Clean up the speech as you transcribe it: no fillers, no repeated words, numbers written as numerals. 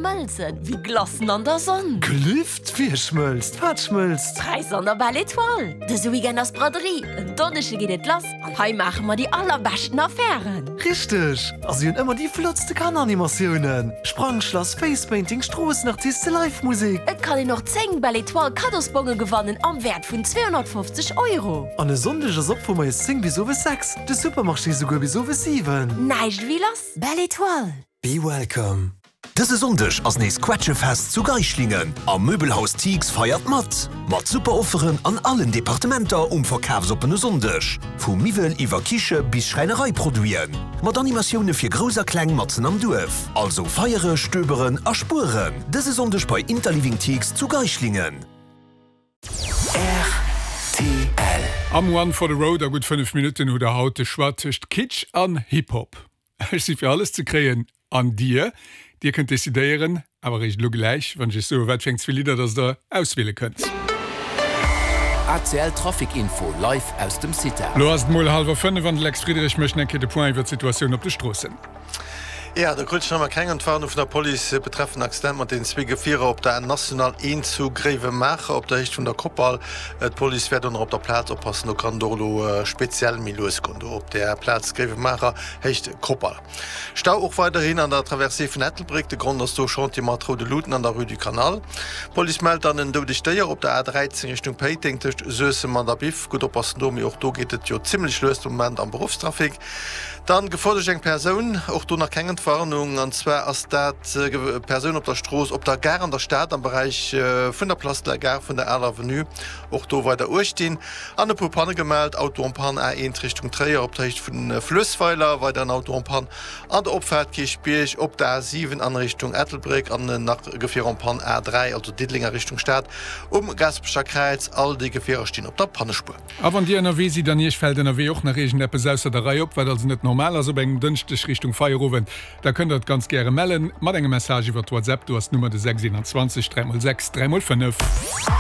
schmëlzen wéi Glacen an der Sonn. Gelift? Wie schmëlzt? Wat schmëlzt? D'Präisser an der Belle Etoile! Dëse Weekend ass Braderie, en Donneschde geet et lass an hei maache mer déi allerbeschten Affären! Richteg! A si hunn ëmmer déi flottste Kanneranimatiounen, Sprangschlass, Facepainting, Stroossenartiste, Live-Musek. Et kann een och 10 Belle Etoile Kaddosbonge gewannen am Wäert vun 250 Euro. An e Sonndeg ass op vu moies 10 bis owes 6, de Supermarché souguer bis owes 7. Näischt ewéi lass! Belle Etoile! Be welcome! Dëse Sonndeg ass nees Quetschefest zu Geischlingen a Möbelhaus Thix feiert mat! Mat super Offeren an allen Departementer um verkafsoppene Sonndeg. Vu Miwwel iwwer Kiche bis Schräinereiproduiten. Mat Animatioune fir Grouss a Kleng matzen am Duerf. Also feiere, stöberen a spueren dëse Sonndeg bei Interliving Thix zu Geischlingen. Rtl. Am One for the Road a gutt 5 Minutten hutt der haut de Choix tëscht Kitsch an Hip-Hop. Ech si fir alles ze kréien. An dir? Dir kënnt decidéieren, awer eréischt elo gläich, wann ech iech soe wat fir eng zwee Lidder dass der auswiele kënnt. ACL Trafic Info live aus dem CITA. Lo ass et mol hallwer 5 an de Lex Friedrich mécht eng Kéier de Point iwwer d'Situatioun op de Stroossen. Jo, do krut ech nach emmer keng Entwarnung vun der Police betreffend Accident mat den zwee Gefierer op der National 1 zu Gréiwemaacher op der Héicht vun der Koppal. D'Police wäert och nach op der Plaz oppassen, do kann et och elo speziell méi lues goen do op där Plaz Gréiwemaacher, Héicht Koppal. Stau och weiderhin an der Traversée vun Ettelbréck, de Grond ass do Chantier mat roude Luuten an der Rue du Canal. D'Police mellt dann en doudegt Déier op der A13 Richtung Péiteng tëscht Suessem an der Biff. Gutt oppassen do, mee och do geet et jo zimmlech lues de Moment am Beruffstrafic. Dann Gefor duerch eng Persoun, och do nach keng Entwarnung, an zwar ass dat Persoun op der Strooss op der Gare an der Stad am Beräich vun der Place de la Gare vun der Aler Avenue, och do weider Uecht dinn. An e puer Panne gemellt, Auto en panne A1 Richtung Tréier op der Héicht vun Fluessweiler, weider en Auto en panne an der Opfaart Kierchbierg op der A7 an Richtung Ettelbréck an nach e Gefier en panne A3, also Diddeleng a Richtung Stad um Gaasperecher Kräiz. All déi Gefierer stinn op der Pannespuer. A wann Dir ënnerwee sidd an Iech fält ënnerwee och nach iergendeppes ausser der Rei op, wat also net normal ass op engem Dënschdeg Richtung Feierowend, da kënnt Der et ganz gäre mellen mat engem Message iwwer WhatsApp. Do ass d'Nummer de 6 21 3 x 6 3 x 5.